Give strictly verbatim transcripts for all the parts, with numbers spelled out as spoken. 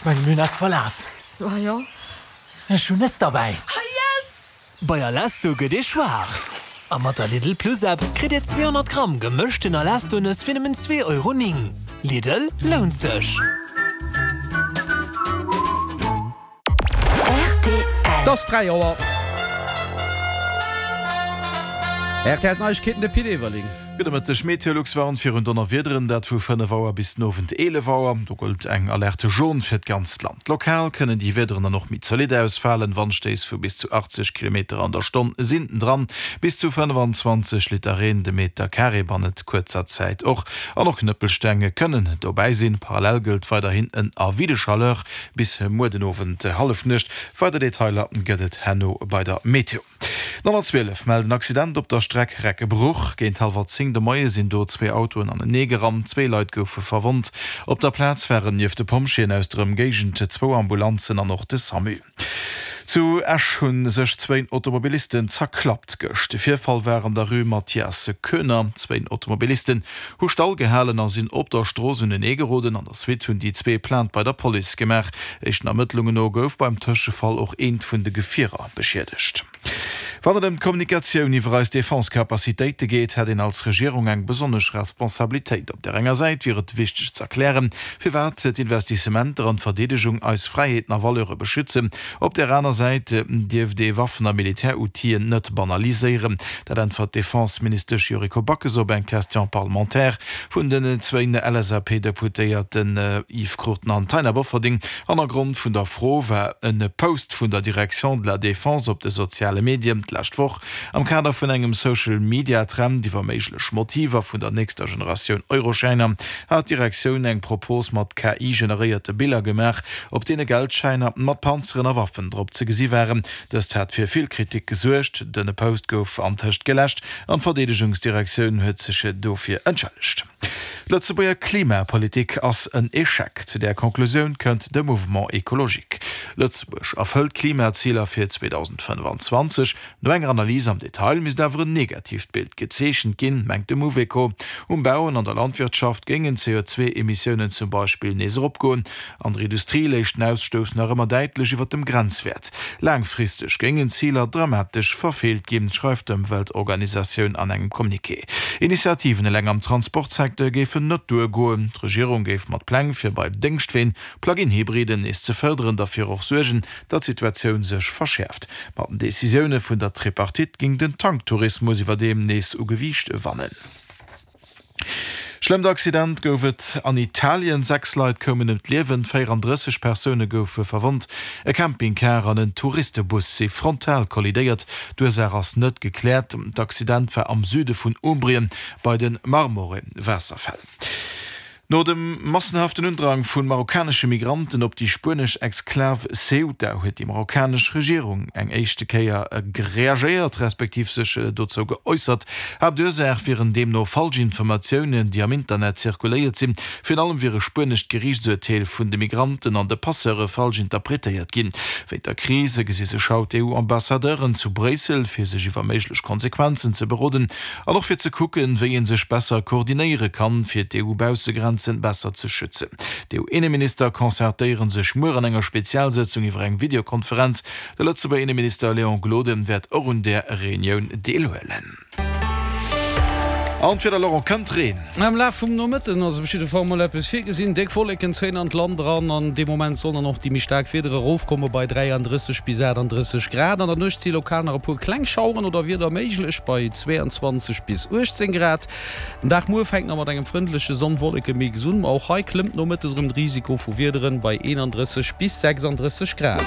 mengen mir hunn eis verlaf. Ah jo. Ech hunn Nëss derbäi. Ah yes! Bei Alesto gëtt ee schwaach. A mat der Lidl Plus App kritt Dir zweehonnert Gramm gemëschten Alesto-Nëss fir nëmmen zwee Euro néng. Lidl, lount sech! Rtl. Et ass dräi Auer. Rtl Neiegkeeten, de Pit Everling. Gudde Mëtteg. Meteolux warnt virun Donnerwiederen, dat vu fënnef Auer bis den Owend eelef Auer. Do gëllt eng Alerte jaune fir d'ganzt Land. Lokal kënnen déi Wiederen dann och méi zolidd ausfalen. Wandstéiss vu bis zu achtzeg Kilometer an der Stonn sinn dran. Bis zu fënnefanzwanzeg Liter Reen de Meter Carré bannent kuerzer Zäit och. An och Knëppelsteng kënnen dobäi sinn. Parallel gëllt weiderhin en Avis de chaleur bis muer den Owend Hallefnuecht. Weider Detailer gëtt et herno bei der Meteo. D'honnertzwielef mellt en Accident op der Streck Recke-Bruch. Géint hallwer zéng de Moie sinn do zwee Autoen anenee gerannt. Zwee Leit goufe verwonnt. Op der Plaz waren nieft de Pompjeeën aus der Ëmgéigend zwou Ambulanzen an och de Samu. Zu Esch hu sech zwéin Automobilisten zerklappt gëscht. De Virfall war an der Rue Mathias Koener. Zwéin Automobilisten hu stall gehalen a sinn op der Strooss unenee geroden. An der Suite hunn déi zwee Plainte bei der Police gemaach. Éischten Ermëttlungen no gouf beim Tëschefall och eent vun de Gefierer beschiedegt. Wann et ëm d'Kommunikatioun iwwer eis Defense-Capacitéite geet, hätt een als Regierung eng besonnesch Responsabilitéit. Op där enger Säit wier et wichteg z'erklären, firwat d'Investissementer an d'Verdeedegung eis Fräiheeten a Valeure beschützen. Op där aner Säit dierft ee Waffen a Militäroutill'en net banaliséieren. Dat äntwert d'Defense-Ministesch Yuriko Backes op eng Question parlementaire vun den zwéin L S A P-Deputéierten Yves Cruchten an Taina Bofferding. Hannergrond vun der Fro war e Post vun der Direction de la Défense op de soziale Medien d'lescht Woch. Am Kader vun engem Social-Media-Trend iwwer méiglech Motiver vun der nächster Generatioun Euroschäiner hat d'Direktioun eng Propos mat K I-generéierte Biller gemaach, op deene Geldschäiner mat Panzeren a Waffen drop ze gesi waren. Dëst hat fir vill Kritik gesuergt. Den Post gouf antëscht geläscht an d'Verdeedegungsdirektioun huet sech dofir entschëllegt. D'Lëtzebuerger Klimapolitik ass en Echec, zu där Conclusioun kënnt de Mouvement Ecologique. Lëtzebuerg erfëllt d'Klimaziler fir zweedausendfënnefanzwanzeg No enger Analys am Detail misst awer en negatiivt Bild gezeechent ginn, mengt de Mouveco. Um Bau an an der Landwirtschaft géingen d'C O zwei Emissiounen zum Beispill nees eropgoen. An der Industrie léich den Ausstouss nach ëmmer däitlech iwwer dem Grenzwäert. Laangfristeg géingen d'Ziler dramatesch verfeelt ginn, schreift d'Ëmweltorganisatioun an engem Communiqué. Initiativen eleng am Transportsecteur géifen net duergoen. D'Regierung géif mat Pläng fir bei Déngschtween Plug-in-Hybriden nees ze fërderen, derfir och suergen, datt d'Situatioun sech verschäerft. Mat den Decisioune vun der Tripartite géing den Tanktourismus iwwerdeem nees u Gewiicht wannen. Schlëmmt Accident gouf et an Italien, Sechs Leit koumen ëm d'Liewen, véierandrësseg Persoune goufe verwonnt. E Campingcar an en Touristebus si frontal kollidéiert. D'Ursaach ass net gekläert. D'Accident war am Süde vun Umbrien bei de Marmore-Waasserfäll. No dem massenhaften Undrang vu marokkanesche Migranten op déi spuenesch Exklav Ceuta huet déi marokkanesch Regierung eng éischte Kéier reagéiert, respektiv sech dozou geäussert. Haaptursaach wieren deemno falsch Informatiounen, déi am Internet zirkuléiert sinn. Virun allem wier e spuenescht Geriichtsurteel vun de Migranten an de Passeure falsch interpretéiert ginn. Wéint der Kris gesi sech haut d'EU-Ambassadeuren zu Bréissel, fir sech iwwer méiglech Konsequenzen ze beroden an och fir ze kucken, wéi ee sech besser koordinéiere kann, fir d'EU-Baussegrenzen besser ze schützen. D'EU-Inneminister concertéiere sech muer an enger Spezialsëtzung iwwer eng Videokonferenz. De Lëtzebuerger Inneminister Léon Gloden wäert och un där Reunioun deelhuelen. An d'Wieder, Laurent, kënnt Reen? Am Laf vum Nomëtten ass op jidde Fall mol eppes virgesinn. Déck Wolleken zéien an d'Land eran an dee Moment sollen dann och déi méi staark Wieder erofkomme bei dräiandrësseg bis aachtanddrësseg Grad. An der Nuecht si lokal nach e puer kleng Schaueren oder Wieder méiglech bei zweeanzwanzeg bis uechtzéng Grad. Den Dag muer fänkt nach mat engem frëndleche Sonn-Wolleke-Mix un, ma och hei klëmmt nomëttes erëm de Risiko vu Wiederen bei eenandrësseg bis sechsandrësseg Grad.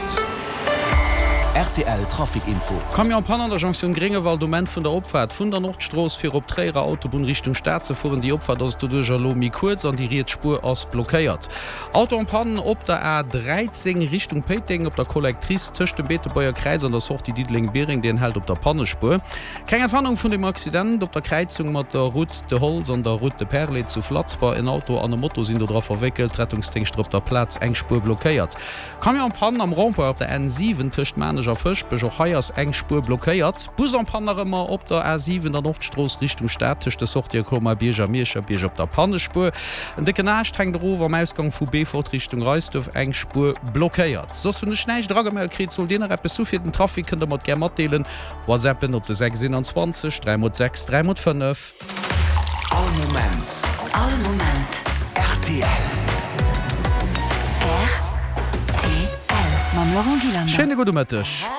Rtl Trafic Info. Camion Panne an der Jonktioun Gréngewald um Enn vun der Opfaart vun der Nordstrooss fir op d'Tréierer Autobunn Richtung Stad ze fueren. Déi Opfaart ass doduercher elo méi kuerz an déi riets Spuer ass blockéiert. Auto en Panne op der A dräizéng Richtung Péiteng op der Collectrice tëscht dem Beetebuerger Kräiz an der Sortie Diddeleng-Biereng, deen hält op der Pannespuer. Keng Entwarnung vun dem Accident op der Kräizung mat der Route de Holz an der Route de Perlé zu Flatzber. En Auto an e Moto sinn do dra verwéckelt, Rettungsdéngschter op der Plaz, eng Spuer blockéiert. Camion en panne am Rond-point op der N siwen tëscht Maarnech Beetebuerg a Fëschbech, och hei ass eng Spuer blockéiert. Bus en panne nach ëmmer op der A siwen, der Nordstrooss Richtung Stad tëscht de Sortië Colmar-Bierg a Mierscherbierg op der Pannespuer. En décken Aascht hänkt erof am Ausgang vu Beefort Richtung Reisduerf, eng Spuer blockéiert. Soss hunn ech näischt eragemellt kritt. Sollt Dir nach eppes hu fir den Trafic, kënnt der mer et gär matdeelen. Whatsappen op de sechs eenanzwanzeg dräi mol sechs dräi mol fënnef. All Moment. All Moment. Rtl. Rtl. Mam Laurent Gillander. Schéine gudde Mëtteg.